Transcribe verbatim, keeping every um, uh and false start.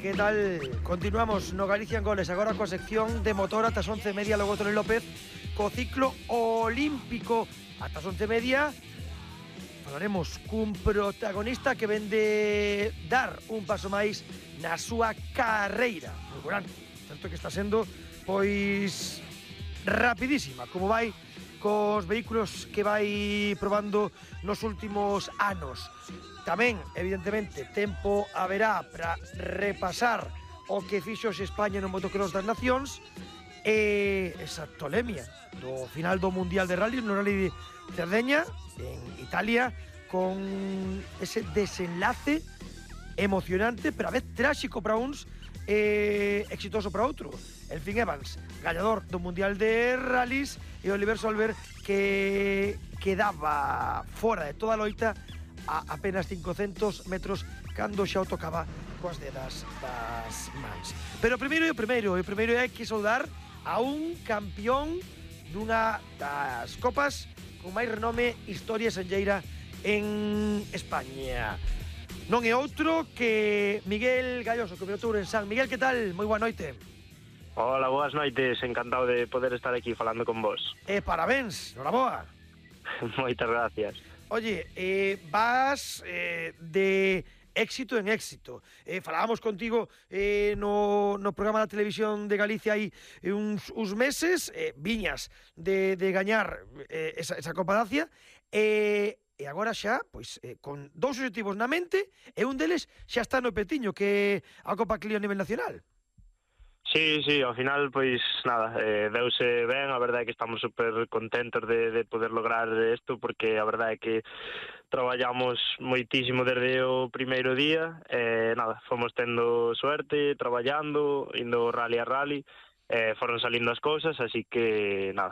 que tal? Continuamos no Galicia en Goles, agora coa sección de motor ata as once e media, logo Tony López co ciclo olímpico ata as once e media. Falaremos cun protagonista que vende dar un paso máis na súa carreira fulgurante. Certo que está sendo, pois, rapidísima, como vai cos vehículos que vai probando nos últimos anos. Tamén, evidentemente, tempo haberá para repasar o que fixo España no Motocross das Nacións e esa tolemia do final do Mundial de Rally, no Rally de Cerdeña, en Italia, con ese desenlace emocionante, pero a vez tráxico para uns e exitoso para outro. El Finn Evans, gañador do Mundial de Rallys, e Oliver Solberg, que quedaba fora de toda a loita a apenas cincocentos metros cando xa o tocaba coas dedas das mans. Pero primeiro e o primeiro, e o primeiro é que saudar a un campeón dunha das copas con máis renome historia senlleira en España. Non é outro que Miguel Galloso, que pilotou en San Miguel. Que tal? Moi boa noite. Hola, boas noites, encantado de poder estar aquí falando con vos. E parabéns, noraboa. Moitas gracias. Oye, eh, vas eh, de éxito en éxito. Eh, falábamos contigo eh, no, no programa da televisión de Galicia hai uns, uns meses, eh, viñas de, de gañar eh, esa, esa Copa Dacia, e, e agora xa, pois, eh, con dous objetivos na mente, e un deles xa está no petiño, que é a Copa Clio a nivel nacional. Sí, sí, ao final, pois, nada, eh, deuse ben, a verdade é que estamos super contentos de, de poder lograr isto, porque a verdade é que traballamos moitísimo desde o primeiro día, e eh, nada, fomos tendo suerte, traballando, indo rally a rally, eh, foron salindo as cousas, así que, nada,